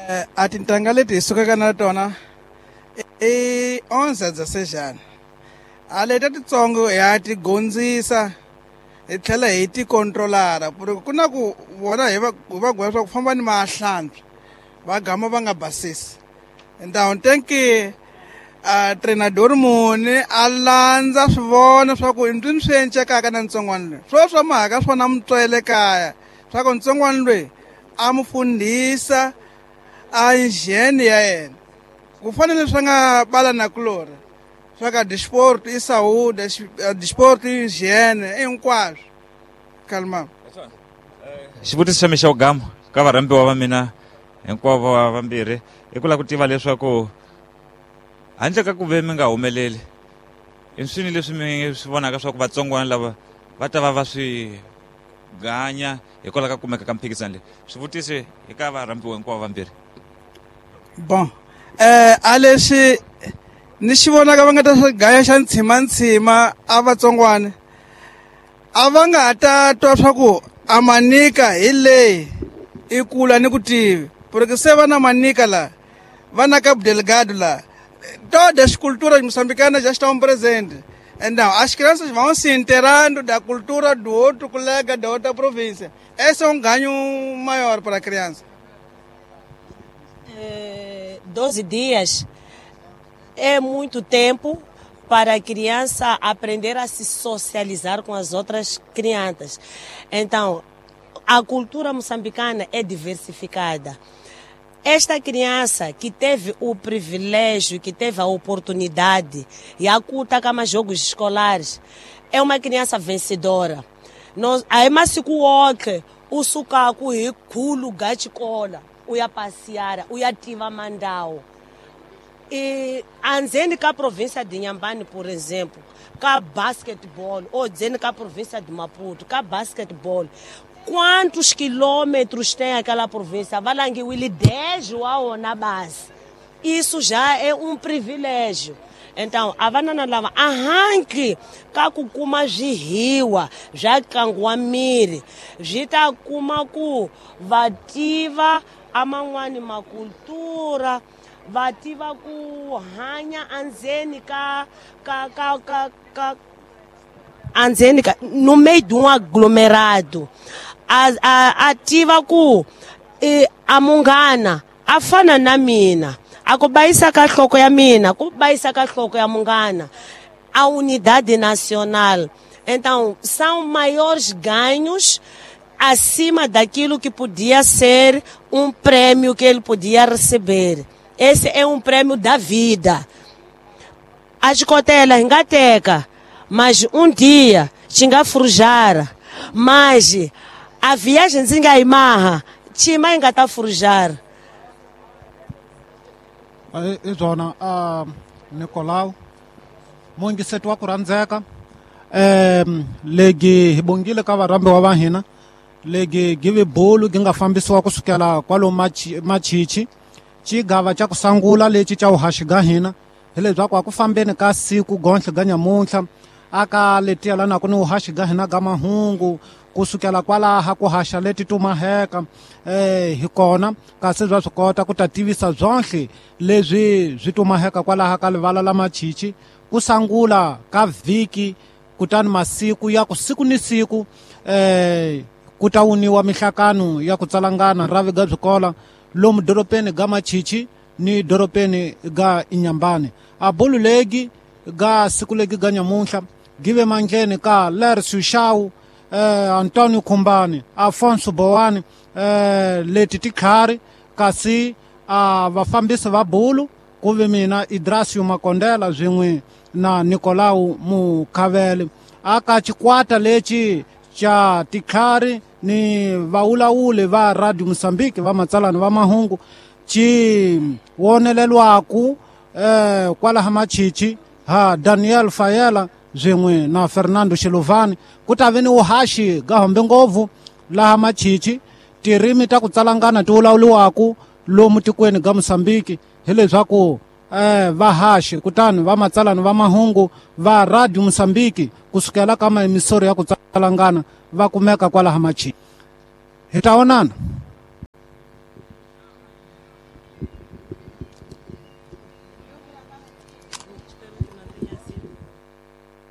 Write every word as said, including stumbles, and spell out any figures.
Eh, a tintangha leti hi sukaka na tona i onze dezesseis a leta titsongo ya ti gondzisa hi tlhela hi ti controlara ku ri ku na ku vona hi va hi va gweva swa ku famba ni mahlantswa va gama va nga basisi então tem que a treinador muni a landza swivona swa ku ndzi swi encekaka na ntsongwana loyi swo swa mhaka swona mutswele kaya swa ku ntsongwana loyi a mu fundhisa a njheni ya yena ku fana ni swa nga bala na kulori swa ka disport i saúde disport i hygiene hinkwaswo kalma. Xivutiso xa mina xa gama ka varhambiwa va mina hinkwavo va vambirhi i ku lava ku tiva leswaku handle ka ku ve mi nga humeleli i swini leswi mi swi vonaka swa ku vatsongwana lava va ta va va swi ganya hikwalaho ka kumeka ka mphikizano leyi. Swivutiso eka varhambiwa hinkwavo vambirhi. Bon, eh a leswi ni xi vonaka va nga ta swi gaya xa ntshima-ntshima a vatsongwana a va nga ta twa swa ku a manika hi leyi i kula ni ku tivi porque se va na manika la va na Cabo Delgado la todas as culturas moçambicanas já estão presentes. Então, as crianças vão se inteirando da cultura do outro colega da outra província. Esse é um ganho maior para a criança. É, doze dias é muito tempo para a criança aprender a se socializar com as outras crianças. Então, a cultura moçambicana é diversificada. Esta criança que teve o privilégio, que teve a oportunidade e a culta kama jogos escolares, é uma criança vencedora. Nós, aí masiku wonke usuka ku hi khulu ga xikolo u ya passear, u ya tiva mandawo. E andzeni ka província de Inhambane, por exemplo, ka basketball, ou dzeni ka província de Maputo, ka basketball, quantos quilômetros tem aquela província? Valangiwile dez wa wona base. Isso já é um privilégio. Então, a vanana lava arranque ka ku kuma swihiwa swa nkangu wa miri swi ta kuma ku va tiva aman'wani makultura, va tiva ku hanya andzeni ka ka ka ka ka andzeni ka no meio de um aglomerado. A, a, a tiva ku e, a munghana a fana na mina, a ku bayisa ka nhloko ya mina, ku bayisa ka nhloko ya munghana, a unidade nacional. Então, são maiores ganhos acima daquilo que podia ser um prêmio que ele podia receber. Esse é um prêmio da vida. A xikotela hi nga teka, mas um dia xi nga forjar, mas a viagem ndzi nga yi maha, xima yi nga ta forjar. I byona uh, Nicolau mungiseti wa ku rhandzeka um legi hi bongile ka varhambiwa va hina legi give bulu gi nga fambisiwa kusukela kwalomu Machichi xigava xa ku sangula lexi xa vuhaxi ga hina hi leswaku a ku fambeni ka siku gonhle ga nyamuntlha aka letiya lana ku ni vuhaxi ga hina ga mahungu kusukela kwalaha ku haxa leti tumaheka eh hi kona kasi bya swi kota ku ta tivisa byonhle leswi swi tumaheka kwalaha ka livala la Machichi ku sangula ka vhiki kutani masiku ya ku siku ni siku eh ku ta wuniwa mihlakano ya ku tsalangana ravi ga byikola lomu doropeni ga Machichi ni doropeni ga Inhambane. A bulu legi ga siku legi ga nyamuntlha give mandleni ka Lercio Shau, eh, Antonio Kumbani, Afonso Boani, eh, leti tikhari kasi a vafambisi va bulu ku ve mina Idrasio Makondela swin'we na Nicolau Mukhavele. Aka xikwata lexi xa tikhari ni vaulawuli va Radio Mozambique va matsalani va mahungu xi wonelelwaku eh, kwalaha Machichi ha Daniel Fayela swin'we na Fernando Xilovani. Ku ta ve ni vuhaxi ga hombe ngopfu laha Machichi tirimi ta ku tsalangana ti vulavuriwaku lomu tikweni ga Mozambique hileswaku eh, vahaxi kutani va matsalani va mahungu va Radio Mozambique kusukela ka maemisori ya ku tsalangana va kumeka kwalaha Machichi. Hi ta vonana.